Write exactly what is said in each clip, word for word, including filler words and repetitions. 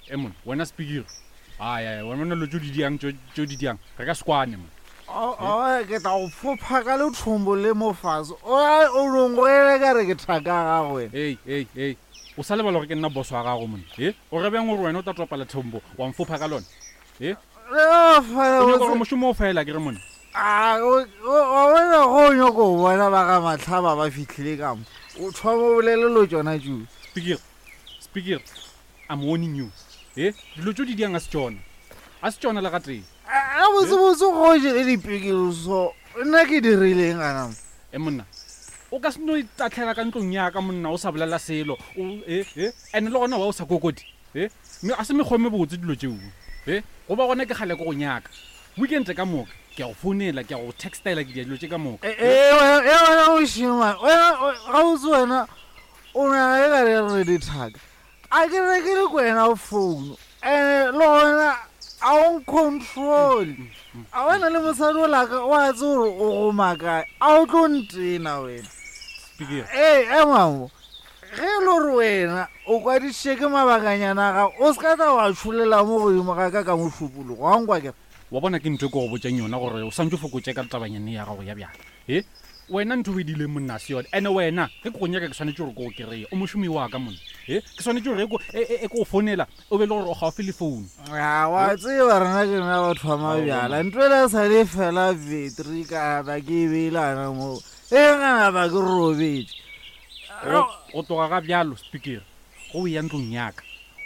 E monna, wena Spikiri. Ai ai, wena dilo tšo di diang tšo tšo di diang. Re ka se kwane monna. O ke tla go fopha ka lethombo le mo fase. O o longwele ka re ke thaka gago wena. Ei, ei, ei. O sa lebala gore ke nna boss wa gago monna. E? O re bjang gore wena o tla topa lethombo wa mfopha ka lona? E? O fela O nyaka gore mošomo o fela ke re monna. A o o wena go nyako go bona ba ga Mahlaba ba fihlile ka mo. O thoma o bolele lo tšona tšo. Spikiri. Spikiri. I'm warning you. E? Dilo tšo di diang a se tšona. A se tšona le gatee. A botsebotse go je le dipikiri so nna ke dirileng gana mo? E monna, o ka se no itatlhela ka ntlong ya ka monna o sa bolela selo. O e e ene le gona wa o sa kokoti. E? Mme a se mekgwa e mebotse dilo tšeo. E? Go ba gona ke kgale ke go nyaka. Weekend ka moka ke a go founela, ke a go textela, ke dia dilo tše ka moka. E e wena e wena mošemane, wena gabotse wena o nyaka e ka re re dithaka. A ke rekele ko wena phone. Ene le gona a o ncontrol. A wena le mosadi o laka wa tse gore o go makae. A o tlo ntena wena. Spikiri. Ee, emamo. Ge e le gore wena o kwadišitše ke mabakanyana a gago, o se ka tla wa tšholela mo godimo ga ka ka mošupologo. Wa nkwa ke re? Wa bona ke ntho e ke go botšang yona gore o santse o fokotše ka tabanyane ya gago ya bjala. E? Wena ntho o e dileng monna a se yone. Ene wena ge ke go nyaka ke swanetše gore ke go kry-e. O mošomi wa ka monna. E? Ke swanetše gore e ko e, e, e ke go founela o be le gore o gaufi le phone. A wa tseba rena ke rena batho ba mabjala. Ntho ela e sa le fela battery ka ba ke e beile gana moo. E gana ba ke robetše. Go go tloga ga bjalo Spikiri, go o ya ntlong ya ka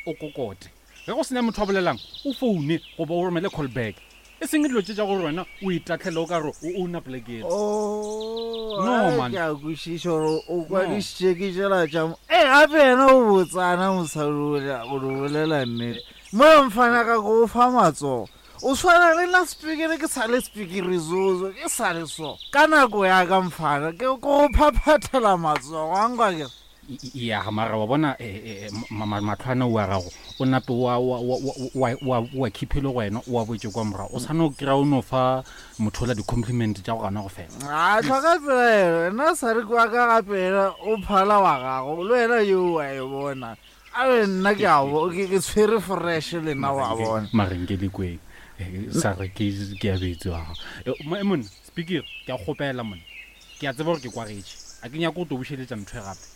o kokote. Ge go sena motho a bolelang o foune goba o romele call back. E seng dilo tše tša gore wena o itatlhele o ka re o owna poleke. Oh, No, ai, man. ke a kwešiša gore o kwadišitše ke tšela tša mo. Ee, gape yena o botsana mosadi ola, go di bolela nnete. Mo mfana ka go fa matsogo. O swana le nna Spikiri, ke sa le Spikiri zozo, ke sa le so. Ka nako ya ka mfana, ke go phaphathela matsogo, wa nkwa ke re? Ya mara wa bona eh, eh, ma- ma- mahlo ana o a gago o nape wa wa wa wa wa wa khiphele go wena o a boetse kwa morago. O sa no kry-a o no fa motho ola di-compliment tša go gana go fela. A tlhoka pelaelo, nna sa re kwa ka gape yena o phala wa gago, le wena yo wa e bona. A be nna ke a bo, ke ke tshwere fresh le nna wa bona. Mare nke le kweng. Eh, sa re ke ke a betse wa gago. Eh, monna Spikiri, ke a kgopela monna. Ke a tseba gore ke kwagetše. A ke nyake go tlo bušeletša ntho e gape.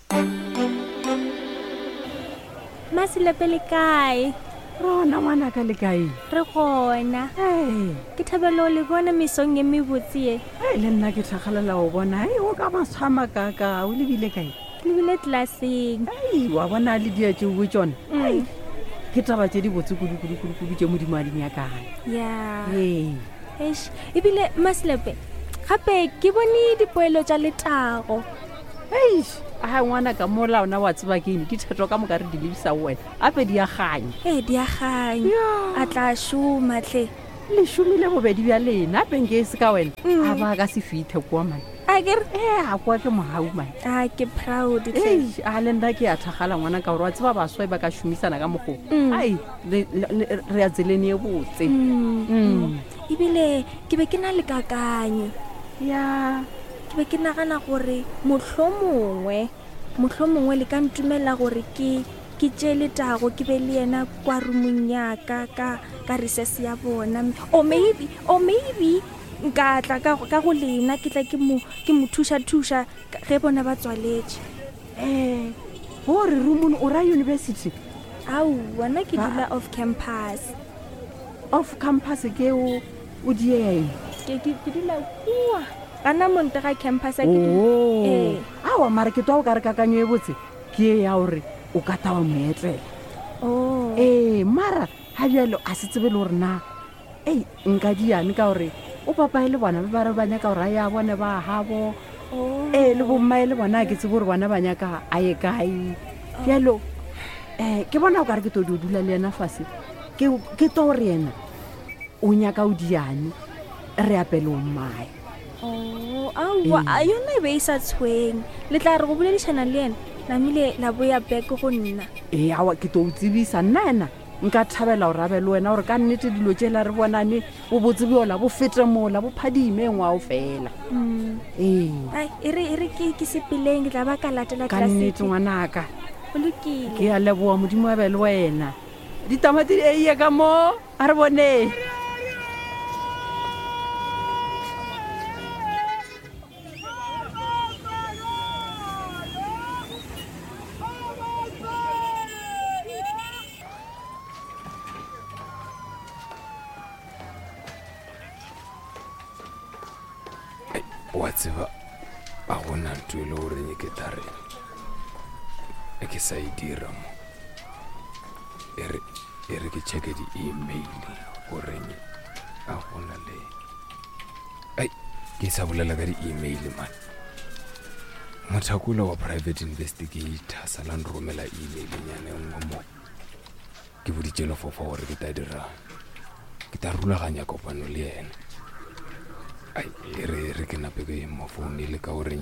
Masilepe le kae? Rona ngwanaka le kae? Re gona. Ee. Ke thabela go le bona mesong e mebotse ye. Ee, le nna ke thakgalela go bona. Ei, o ka maswama kaka, o lebile kae? Ke lebile tlelaseng. Ei, wa bona le dia tšeo bo tšona. Mm. Ei, ke taba tše di botse kudu kudu kudu kudu tše Modimo a di nyakang. Ya. Ee. Eish, ebile Masilepe, gape ke bone dipoelo tša letago. Eish, a ngwana ka mola ona wa tseba ke eng, dithetho ka moka re di lebisa ho wena. Ape di a kganya. Ee, di a kganya. Ya. A tla šoma tle. Le šomile bobedi bja lena, ape nke e se ka wena. Mm. A ba ka se fithe kwa man. A ke re? Ee, a kwa ke mohau man. A ke proud tle. Eish, a le nna ke a thakgala ngwana ka gore wa tseba baswa e ba ka šomisana ka mokgo. Mm. Ai, le, le, le, re ya tseleng e botse. Mm. Mm. Ebile ke be ke na le kakanyo. Ya. Ke be ke nagana gore mohlomongwe, mohlomongwe le ka ntumela gore ke, ke tšee letago ke be le yena kwa roomong ya ka, ka, ka recess ya bona. Or maybe, or maybe nka tla ka, ka go lena, ke tla ke mo, ke mo thuša-thuša ge bona ba tswaletše. Eh, gore roomong o ra university? Aowa, nna ke Ba- dula off campus. Off campus ke o, o dieng? Ke, ke, ke dula kua. Gana monte ga campus a ke dula. Oh. Ee. Aowa, mara ke twa o ka re kakanyo e botse ke e ya gore o ka ta wa mo etlela. Oh. Ee, mara ga bjalo a se tsebe le gore na ei nka diane ka gore o papae le bona ba ba re ba nyaka gore a ye a bone ba gabo. Oh. Ee, le bommae le bona a ke tsebe gore bona ba nyaka a ye kae. Bjalo um ke bona o ka re ke tlo dio dula le yena fase. Ke, ke tlo gore yena o nyaka o diane re apele o mmae. Oh, aowa, a yona e be e sa tshwenye. Le tla re go boledišana le yena, namile la boya back go nna. Ee, aowa, ke tlo o tsebisa nna ena nka thabela gore a be le wena gore ka nnete dilo tšela re bonane bobotse bjola bo fete mola bo phadime ngwao fela. Mm. Ee. Ai, e re, e re ke, ke sepeleng, ke tla ba ka latela Ka nnete tlelaseng. ngwanaka. Go lokile. Ke a leboha, Modimo a be le wena. Ditamati di eiye ka mo, a re boneng. Wa tseba, a gona ntho e le goreng ke tla re e ke sa e dira mo. E re, e re ke checke di-email goreng a gona le. Ai, ke sa bolela ka di-email man. Mothakola wa private investigator sa la nromela email nyana e nngwe mo. Ke boditše lefofa gore ke tla dira, ke tla rulaganya kopano le yena. Ai, e re, e re ke nape ke mo founile ka goreng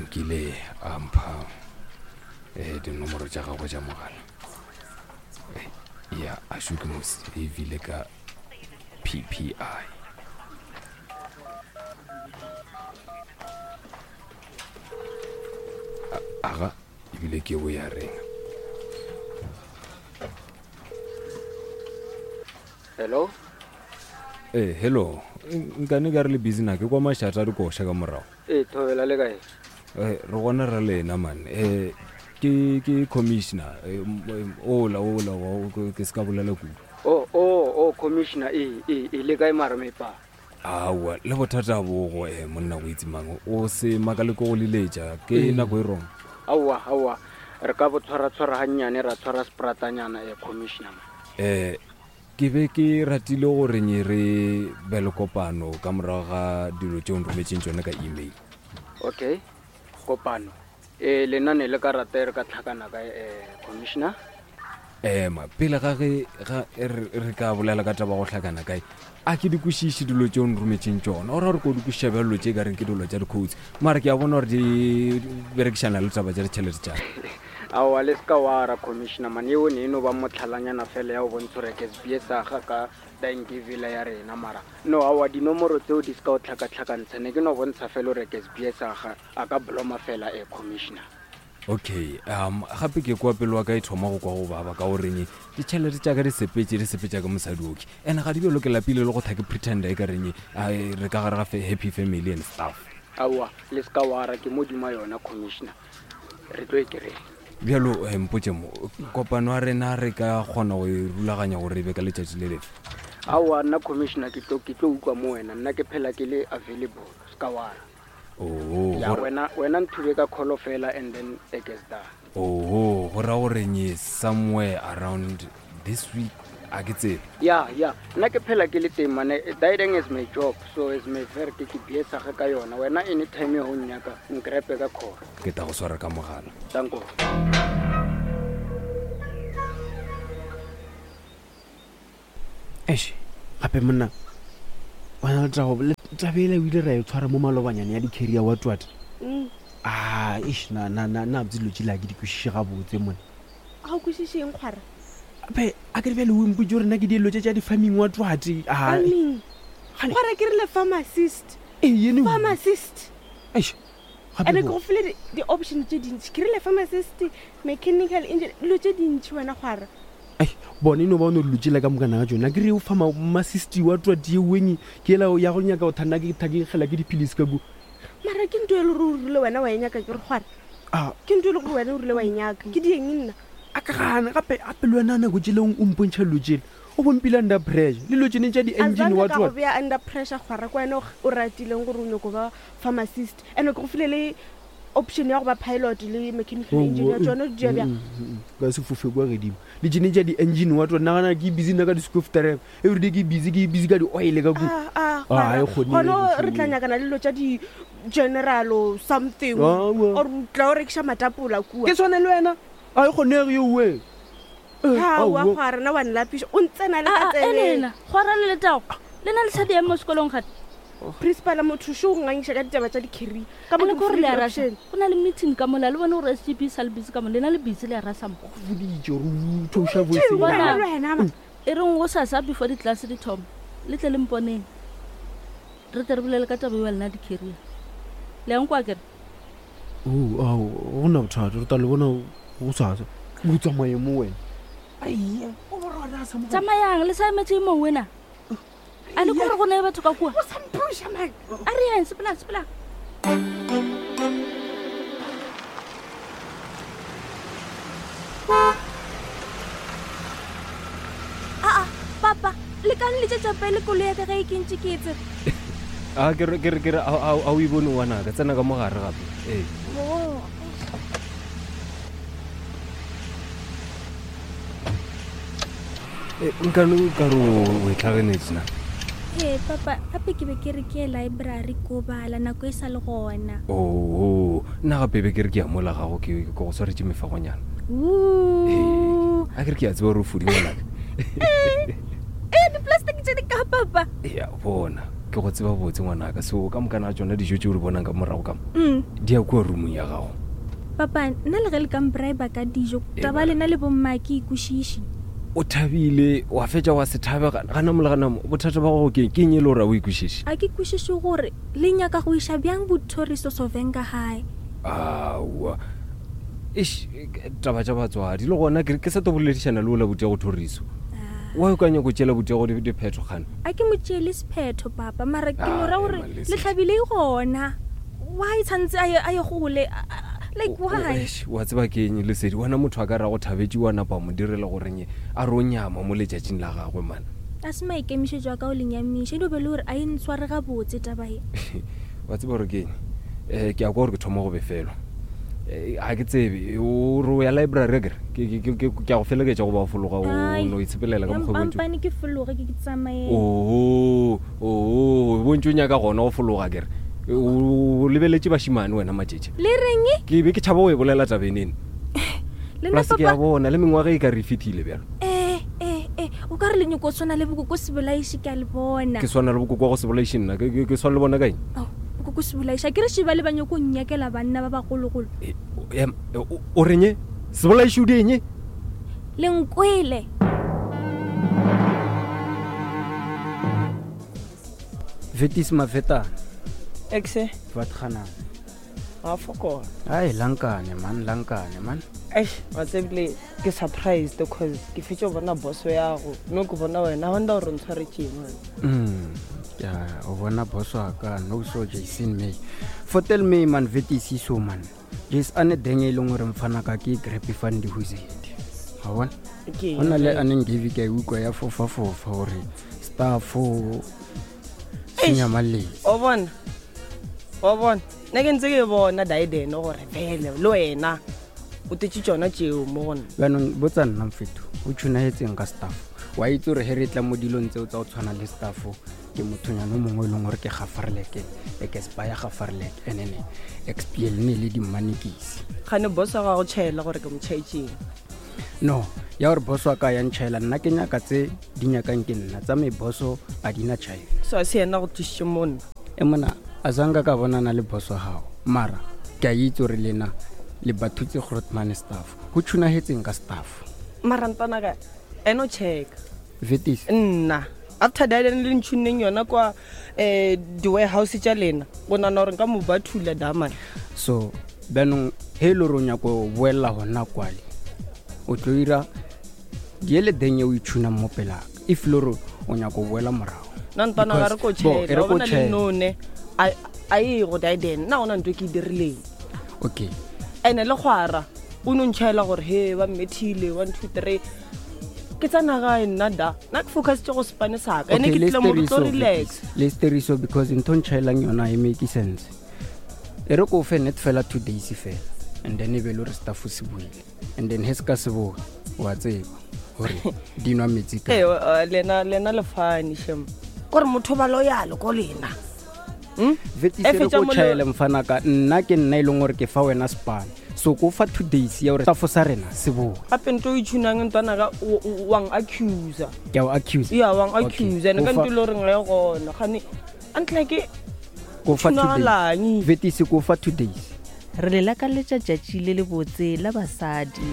nkile a mpha, eh, dinomoro tša gagwe tša mogala. Eh, ya, a šo ke mo save-ile ka P P I. A, aga, ebile ke bo ya reng. Hello? Eh, hello. Nkane ka re le busy na ke kwa mašata a dikoša ka morago. Eh, thobela le kae? Eh, re gona ra lena man. Eh, ke, ke commissioner. Eh, m-, m-, ola, ola, wa, ke, ke se ka bolela kudu. Oh, oh, oh, commissioner, eh, eh, eh, le kae mara mepa? Aowa, le bothata bo go, eh, monna o itse mang, o se makale ko go leletša, ke Eh. nako e wrong. Aowa, aowa, re ka bo tshwara-tshwara gannyane, ra tshwara spratanyana, eh, commissioner. Eh, ke be ke ratile gore nye re be le kopano ka morago ga dilo tšeo nrometšeng tšona ka email. Okay, kopano. Eh, lena ne le ka rata e re ka tlhakana ka, eh, commissioner? Ema, pele ga ge, ga re, re ka bolela ka taba go hlakana kae, a ke di kwešiše dilo tšeo nrometšeng tšona. O ra gore ko di kwešiša bjalo dilo tše ka reng ke dilo tša di-codes, mara ke a bona gore di berekišana le taba tša ditšhelete tša ka. Aowa, le se ka wa ra, commissioner, man, eo ne e no ba motlhalanyana fela ya go bontsha gore ke S B S aga ka Dankiville ya rena, mara no, aowa, dinomoro tseo di se ka o tlhakatlhakantsha, ne ke no bontsha fela gore ke S B S aga a ka bloma fela, eh, commissioner. Okay, um, gape ke kwa pelo wa ka e thoma go kwa go baba ka goreng ditšhelete tša ka di sepetše, di sepetša ka mosadi oke. And ga di bjalo ke lapile le go tha ke pretender e ka reng, ai, re ka gare ga fe-, happy family and stuff. Aowa, le se ka wa ra, ke modimo yona, commissioner. Re tlo e kry-a. Bjalo, eh, mpotše mo, kopano ya rena re ka kgona go e rulaganya gore e be ka letšatši le lefe? Aowa, nna commissioner ke tlo, ke tlo utlwa mo wena, nna ke phela ke le available, se ka wa ra. Oh, Ya, gore wena, wena nthube ka call fela and then it gets done. Oh, go ra gore nye somewhere around this week, a ke tsebe. Ya, ya, nna ke phela ke le teng mane, dieting is my job, so is my verk, ke biesa ge ka yona. Wena anytime ho nnyaka, nkrepe ka call. Ke tla go swara ka mogala. Danko. Eish, gape monna, wena le taba, le taba ela o ile ra e tshwara mo malobanyane ya di-carrier wa twat. Mm. Ah, eish, na, na, na, na botse dilo tšela ke di kwešiše gabotse monna. Ga o kwešiše eng, kgwara? Ape, a ke re bjale o mpotše gore nna ke dilo tše tša di-farming wa twat, ah. Farming? Gane- Kgwara, ke rile pharmacist. Ee, yene o- Pharmacist. Eish, gape Ene ke bo- go file di-, di-option tše dintši. Ke rile pharmacist, mechanical engineer, dilo tše dintši wena, kgwara. Ai, bone e no ba o no dilo tšela ka mokana ga tšona. Ke re o fa ma-, masisti wa twat ye weng, ke ela ya go nyaka go thanna ke thakegela ke dipilisi ka kua. Mara ke ntho e le gore o rile wena wa e nyaka, ke re kgwara. Ah. Ke ntho e le gore wena o rile wa e nyaka. Ke dieng nna? A ka gana, gape, gape le wena nako tšele o mpontšha dilo tšele, o bompile under pressure. Le dilo tšene tša di-engine Azange wa ka go twat. bea under pressure, kgwara, ke wena o g-, o ratileng gore o nyako ba pharmacist. And-e ke go file le option ya go ba pilot le mechanical Oh, engineer, oh, tšona di dia bjang? mm, mm, mm, ka se fofe kwa godimo. Le tšene tša di-engine wa twat, nagana ke busy nna ka di-scoof drive. Everyday ke busy, ke busy ka di-oil ka kua. Ah, ah, Ah, kgwara. e kgone Gona e re tla kgone. nyakana le dilo tša di-general or something. Ah, wa. Or o tla o rekiša matapola kua. Ke tshwane le wena. A e kgonege eo we. Eh, Aowa, aowa. kgwara, nna wa nlapiša. O ntsena le ka Ah, ah, tsebe. Elena, kgwara le Letago, le na le sa di eng mo sekolong gate? Principal motho šo o ngangiša ka ditaba tša di-career. Ka mo Ane ke ke gore mo le file a rasa. di-option. Go na le meeting ka mola, le bone gore S G B sa le busy ka mo, lena le busy le a rasa mo. Go foditše gore o theoša voice Tšeo, ya Bona. wena le wena, ma. E reng go sasa before di-class di thoma, le tle le mponeng. Re tle re bolele ka taba eo ya lena di-career. Le yang kwa kere? Oh, ao, go na bothata, re tla le bona go sasa. O tsamaye mo wena. Ai, o borona sa mo. Tsamayang le sa emetse mo wena. A le gore go ne batho ka kua. O sa mpusha man. A re yeng sepelang sepelang. Aa, papa, le ka nletšetša pele koloi ya ka ge e ke ntše ke e tsere. A ke re ke re ke re a a o e bone ngwanaka tsena ka mogare gape. Ee. Oh. Eh, nkane o ka re o e tlhagenetse na. Ee, papa, gape ke be ke re ke ye library ko bala nako e sa le gona. Oo, nna gape be ke re ke ya mola gago ke ke go swaretše mefagonyana. Ooh. A ke re ke a tseba gore o fodi ngwanaka. Ee, di-plastic tše di ka papa. Ya bona, ke go tseba botse ngwanaka. So ka mokana ga tšona dijo tše o di bonang ka morago ka mo, Mm. di ya kua roomong ya gago. Papa, nna le ge le ka mbribe ka dijo, Ee, taba ba. lena le bomma ke ikwešiše. O thabile, wa fetša wa se thabe gana gana mo le gana mo. Bothata ba gago ke ke eng e le gore a o ikwešiše? A ke kwešiše gore le nyaka go iša bjang bothoriso Sovenga gae. Aowa. Eish, taba tša batswadi le gona ke ke sa tlo boledišana le ola buti ya go thoriso. Wa o ka nyako tšeela buti ya go di- diphetho kgane. A ke mo tšeele sephetho papa, mara ke no Ah, ra gore ema, Lesedi. le hlabile e gona. Why tshwantse a ye a ye gole? A- a- Like why? Eish, wa tseba ke eng Lesedi, wena motho a ka ra go thabetše wa napa mo direla goreng a re o nyama mo letšatšing la gagwe man. A se maikemišetšo a ka o le nyamiša, e dio be le gore a e ntshware gabotse taba e. Wa tseba gore ke eng? Eh, ke a kwa gore ke thoma go befelwa. Eh, ga ke tsebe, o re o ya library akere? Ke ke ke ke a go felegetša go ba o fologa o Ai, no itshepelela ka mokgwa o bontši. Mpampane ke fologe ke ke tsamaye. Oo, oo, bontši o nyaka gona go fologa akere? O lebeletše bašimane wena matšetše. Le reng? Ke be ke tšhaba go e bolela tabeng eno. Le nna Plus ke a papa. bona le mengwaga e ka re e fetile bjalo. Eh, eh, eh, o ka re le nyako tshwana le bokoko sebolaiši ke a le bona. Ke swana le bokoko wa go se bolaiše nna, ke ke- ke swana le bona ka eng? Ao, bokoko sebolaiši, a ke re šiba le ba nyako nnyakela banna ba bagologolo. E, o- em, e, o o reng e? Sebolaiši o di eng? Le nkwele. Vetis mafetana. Exe. Vatganang. A fokola. Ai lankane man, lankane man. Eish, wa tsebile ke surprised cause ke fetše go bona boso ya go. No ke bona wena, I wonder gore o ntshwaretšeng wena. Mm. Ya, o bona boso wa ka no so Jason May. Fotel May man Vetis so man. Jason ane deng e leng gore mfana ka ke grab fund huzedi. Ha bona? Ke Go na le a neng give ke a e utlwa ya fofa fofa gore star four senya maleng. O bona? O bona? Nna ke ntse ke e bona Daiden gore vele le wena o tetse tšona tšeo mo go nna. Jaanong botsa nna mfetho o tshunagetseng ka staff wa itse gore he re tla mo dilong tseo tsa go tshwana le staff ke mothonyana o mongwe e leng gore ke gafarleke expa ya gafarleke and then xpl ne le dimmanekisi Gane boss wa gago tšhaela gore ke mo tšhaetšeng. no ya gore boso wa ka ya ntšhaela nna ke nyaka tse di nyakang ke nna tsa me boso a di na tšhaela So a se yena go thusitše mo nna. e mona a sanka ka bonana le boso wa gago mara ke a itse gore lena le bathutse grotman staff go tshunagetseng ka staff Mara ntwana ka eno check. vetis Nna after Daiden le ntšhunneng yona kwa eh di-warehouse tša lena go nana gore nka mo bathula daman. so bjanong he e le gore o nyako go boelela gona kwale o tlo ira diele deng e o itshunang mo pelaka if le gore o nyako go boela morago Nna ntwana ga re ko Because- bo, e tšhaela re wa ko bona le tjhaela. none a a ye go Daiden nna gona ntho e ke e dirileng. okay Ene le kgwara o no ntšhaela gore he ba mmethile one two three ke tsena gae nna da nna ke focusitse go sepane saka ene Okay, ke le tlile mo ke tlo steriso, relax Vetis, le steriso because ntho e ntšhaelang yona e make sense e re ko o fe net fela two days fela and then e be le gore staff se buile and then he se ka se boe wa tseba gore di nwa metsi ka ee eh, lena lena le fane shem kore motho ba loyal ko lena Hmm? Vetis E e re fetša ko mo le- tšhaele mfanaka nna ke nna e leng gore ke fa wena spane so ko fa two days ya gore staff sa rena se boe gape nto o itshunang ntwana ka o- o- wang accusa ke a o accuse ya wang Okay, accuse ene ko ka fa- nto e le goreng ga e gona gane a ntlha ke ko fa two days tshunagalang Vetis ko fa two days Re le lakaletša tšatši le lebotse la basadi.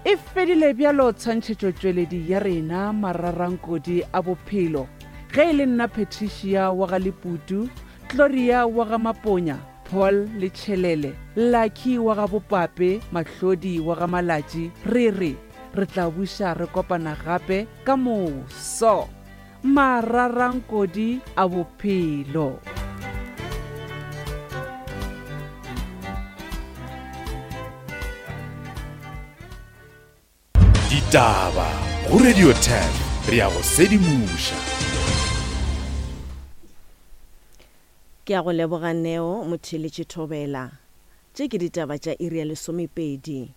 E fedile bjalo tshwantšhetšotšweledi ya rena mararankodi a bophelo. Ge e le nna Patricia wa ga Leputu, Gloria wa ga Maponya, Paul le Tšhelele, Lucky wa ga Bopape, Mahlodi wa ga Malatši, re re re tla buša re kopana gape ka moso. Mararankodi a bophelo. Ditaba go Radio ten re ya go sedimoša. Ke a go leboga Neo Motheeletši Thobela. Tše ke ditaba tša iri ya lesomepedi.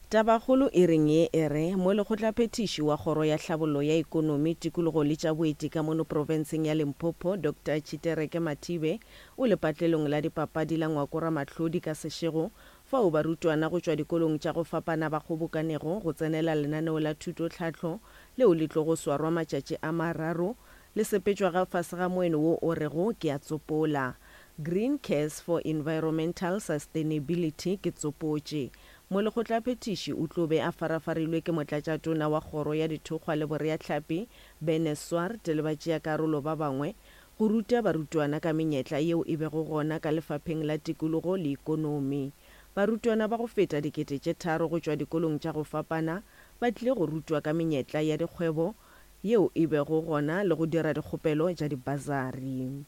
Tabakgolo iring ye e re, Molekgotlaphethiši wa Kgoro ya Tlhabollo ya Ekonomi, Tikologo le tša Boeti ka mono profenseng ya Limpopo, Doctor Tshitereke Mathibe, o lepatlelong la dipapadi la Ngwako-Ramahlodi ka Seshego, fao barutwana go tšwa dikolong tša go fapana ba kgobokanego go tsenela lenaneo la thutotlhahlo leo le tlogo swarwa matšatši a mararo le sepetšwa ga fase ga moeno wo o rego Ke a tsopola. Green Cares for Environmental Sustainability ke tsopotše. Molekgotlaphethiši o tlo be a farafarilwe ke motlatšatona wa Kgoro ya Dithokgwa le Boreahlapi, Bene Swart le batšeakarolo ba bangwe go ruta barutwana ka menyetla yeo e bego gona ka lefapheng la tikologo le ikonomi. Barutwana ba go feta dikete tše tharo go tšwa dikolong tša go fapana ba tlile go rutwa ka menyetla ya dikgwebo yeo e bego gona le go dira dikgopelo tša dibasari.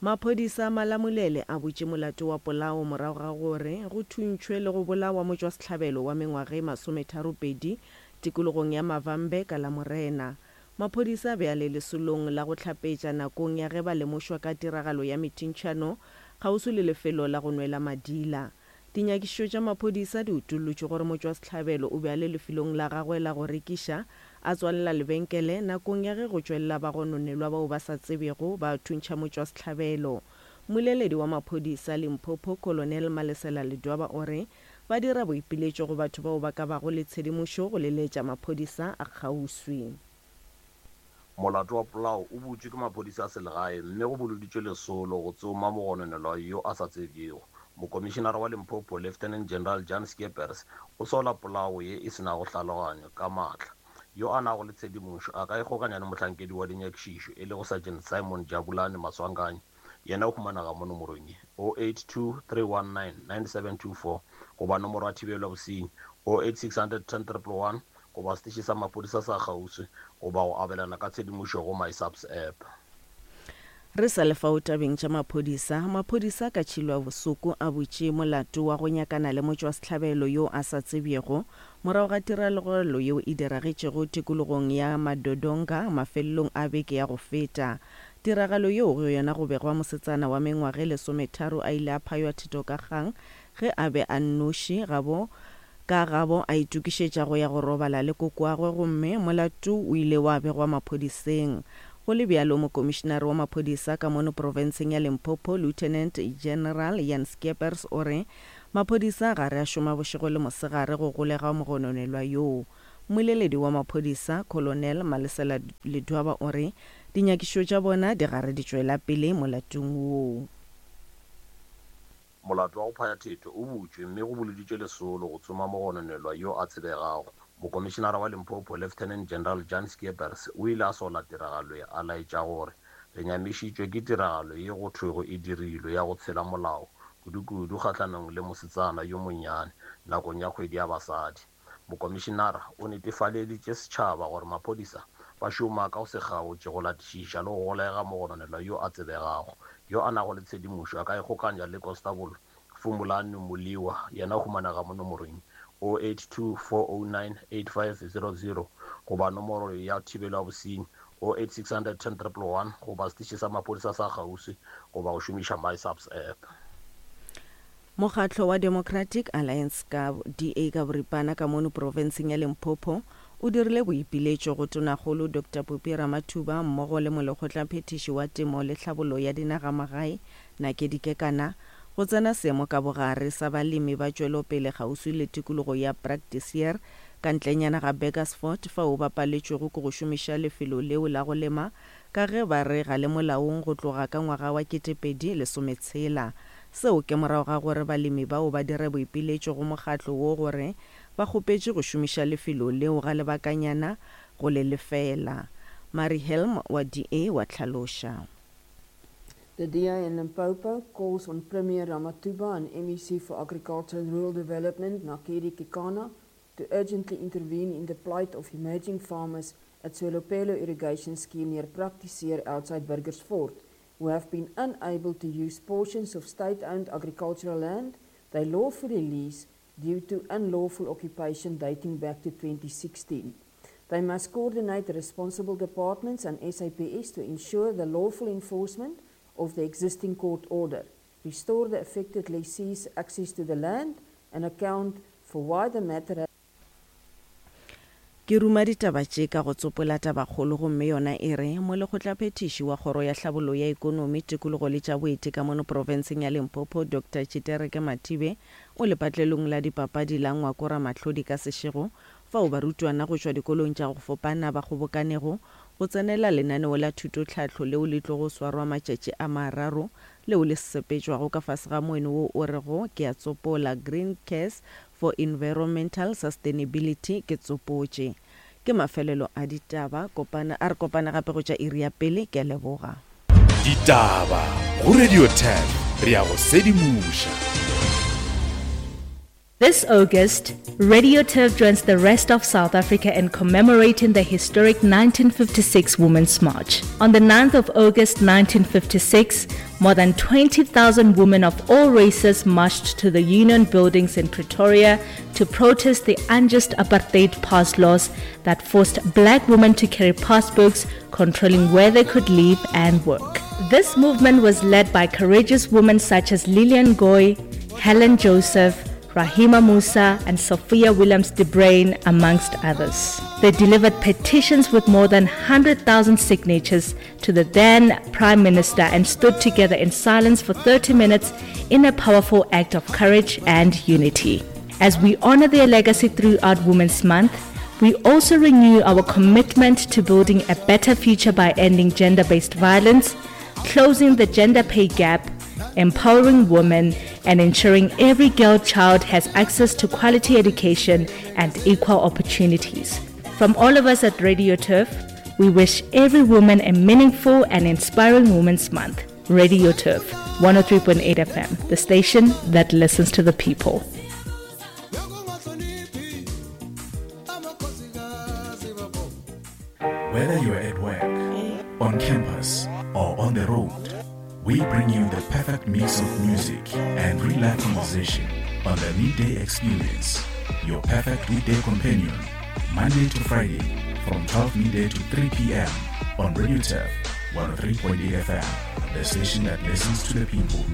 Maphodisa a Malamulele a butše molato wa polao morago ga gore go thuntšhwe le go bolawa motšwasehlabelo wa mengwaga e masometharopedi tikologong ya Mavambe ka Lamorena. Maphodisa a be a le lesolong la go hlapetša nakong ya ge ba lemošwa ka tiragalo ya methintšhano kgauswi le lefelo la go nwela madila. Dinyakišišo tša maphodisa di utollotše gore motšwasehlabelo o be a le lefelong la gagwe la go rekiša a tswalela lebenkele nakong ya ge go tšwelela bagononelwa bao ba sa tsebjego ba thuntšha motšwasehlabelo. Mmoleledi wa maphodisa Limpopo, Colonel Malesela Ledwaba o re ba dira boipiletšo go batho bao ba ka bago le tshedimošo go leletša maphodisa a kgauswi. Molato wa polao o butšwe ke maphodisa a selegae mme go boloditšwe lesolo go tsoma mogononelwa yo a sa tsebjego. Mokomišenara wa Limpopo, Lieutenant General Jan Skeepers, o sola polao ye e se nago hlaloganyo ka maatla. Yo a nago le tshedimošo a ka ikgokanya le mohlankedi wa dinyakišišo e lego Sergeant Simon Jabulani Maswanganyi, yena o humanega mo nomorong ye, oh eight two, three one nine, nine seven two four goba nomoro ya thibelo ya bosenyi, oh eight six hundred ten triple one goba seteše sa maphodisa sa kgauswi goba go abelana ka tshedimošo go MySAPS app. Re sa le fao tabeng tša maphodisa, maphodisa ka Tšhilwabosoko a butše molato wa go nyakana le motšwasehlabelo yo a sa tsebjego morago ga tiragalo yeo e diragetšego tikologong ya Madodonga mafelelong a beke ya go feta. Tiragalo yeo go yona go begwa mosetsana wa mengwaga e lesometharo a ile a phaywa thito ka kgang ge a be a nnoši gabo ka gabo a itokišetša go ya go robala le kokoagwe gomme molato o ile wa begwa maphodiseng. Go le bjalo, mokomišenare wa maphodisa ka mono profenseng ya Limpopo, Lieutenant General Jan Skeepers o re maphodisa ga re a šoma bošego le mosegare go golega mogononelwa yoo. Mmoleledi wa maphodisa, Colonel Malesela Ledwaba o re dinyakišišo tša bona di gare di tšwela pele molatong woo. Molato wa go phaya thetho o butšwe mme go boloditšwe lesolo go tsoma mogononelwa yo a tsebegago. Mokomišenara wa Limpopo, Lieutenant General Jan Skeepers, o ile a sola tiragalo ye, a laetša gore re nyamišitšwe ke tiragalo ye go thwego e dirilwe ya go tshela molao, kudukudu kgahlanong le mosetsana yo monnyane nakong ya kgwedi ya basadi. Mokomišenara o netefaleditše setšhaba gore maphodisa ba šoma ka go se kgaotše go latišiša le go golega mogononelwa yo a tsebegago, yo a nago le tshedimošo a ka ikgokanya le Constable Fumulani Muliwa, yena o humanega mo nomorong oh eight two, four oh nine, eight five zero zero goba nomoro ya thibelo ya bosenyi oh eight six hundred ten triple one goba seteše sa maphodisa sa kgauswi goba go šomiša MySAPS app. Mokgatlo wa Democratic Alliance ka D A ka boripana ka mono profenseng ya Limpopo o dirile boipiletšo go Tonakgolo Doctor Phophi Ramathuba mmogo le molekgotlaphethiši wa temo le tlhabollo ya dinagamagae Nakedi Kekana go tsena seemo ka bogare sa balemi ba tšwelopele kgauswi le tikologo ya Praktiseer ka ntlenyana ga Burgersfort fao ba paletšwego ke go šomiša lefelo leo la go lema ka ge ba re ga le molaong go tloga ka ngwaga wa ketepedi lesometshela. Seo ke morago ga gore balemi bao ba dire boipiletšo go mokgatlo wo gore ba kgopetše go šomiša lefelo leo ga lebakanyana go le lefela. Mari Helm wa D A wa hlaloša. The D A in Limpopo calls on Premier Ramatuba and M E C for Agriculture and Rural Development, Nakedi Kekana, to urgently intervene in the plight of emerging farmers at Tswelopele Irrigation Scheme near Praktiseer outside Burgersfort, who have been unable to use portions of state-owned agricultural land they lawfully lease due to unlawful occupation dating back to twenty sixteen. They must coordinate the responsible departments and S A P S to ensure the lawful enforcement of the existing court order, restore the affected lessees' access to the land, and account for why the matter has Ke ruma ditaba tše ka go tsopola tabakgolo gomme yona e re molekgotlaphethiši wa kgoro ya tlhabollo ya ikonomi, tikologo le tša boeti mono profenseng ya Limpopo Doctor Tshitereke Mathibe o lepatlelong la dipapadi la Ngwako Ramahlodi ka sešego fao barutwana go tšwa dikolong tša go fapana ba kgobokanego go tsenela lenaneo la thutotlhahlo leo le tlogo swarwa matšatši a mararo leo le sepetšwago ka fase ga moeno wo o rego ke a tsopola Green Cares for Environmental Sustainability ke tsopotše. Ke mafelelo a ditaba, kopana a re kopana gape go tša iri ya pele, ke a leboga. Ditaba go Radio ten, re a go sedimoša. This August, Radio Turf joins the rest of South Africa in commemorating the historic nineteen fifty-six Women's March. On the ninth of August nineteen fifty-six, more than twenty thousand women of all races marched to the Union buildings in Pretoria to protest the unjust apartheid pass laws that forced black women to carry passbooks controlling where they could live and work. This movement was led by courageous women such as Lillian Goy, Helen Joseph, Rahima Moosa and Sophia Williams de Bruyn, amongst others. They delivered petitions with more than one hundred thousand signatures to the then Prime Minister and stood together in silence for thirty minutes in a powerful act of courage and unity. As we honor their legacy throughout Women's Month, we also renew our commitment to building a better future by ending gender-based violence, closing the gender pay gap, empowering women, and ensuring every girl child has access to quality education and equal opportunities. From all of us at Radio Turf, we wish every woman a meaningful and inspiring Women's Month. Radio Turf, one oh three point eight F M, the station that listens to the people. Whether you're at work, on campus, or on the road, we bring you the perfect mix of music and real-life conversation on the Midday Experience, your perfect weekday companion, Monday to Friday from twelve midday to three p m on Radio Turf one oh three point eight F M, the station that listens to the people.